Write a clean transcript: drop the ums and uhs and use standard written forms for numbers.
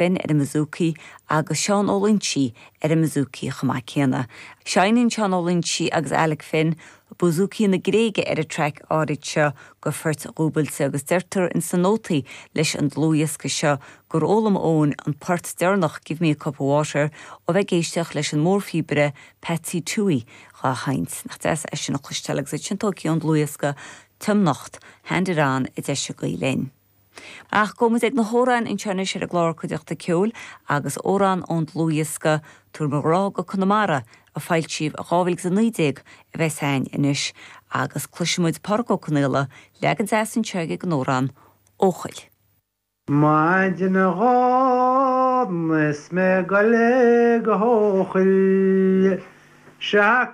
Finn ar an mbouzouki agus Seán Ó Loingsigh ar an mbouzouki chomh maith céanna. Seinneann Seán Ó Loingsigh agus Alec Finn bouzouki na Gréige ar an traic áirid seo de phoirt dhúbailte agus deirtear ins na nótaí leis an dlúthdhiosca seo gur fhoghlaim Eoin an port deireanach Give Me a Cup of Water ó bheith ag éisteacht leis an mórphíobaire Patsy Touhey dhá sheinnt. Nach deas é sin a chloisteáil agus iad sin tógtha ón dlúthdhiosca Tiomnacht, Hand It On a d'eisigh Gael Linn. Ach gabhfaidh muid ag na hamhráin anseo anois ar an gclár Cuideachta Ceoil agus amhrán ón dlúthdhiosca Tabhair Mo Ghrá go Conamara a foilsíodh i 2019 a bheas againn anois agus cloisfidh muid Pádraic Ó Conaola, leagan deas anseo aige den amhrán Eochaill. Maidin Dhomhnaigh is mé ag goil go hEochaill, sea.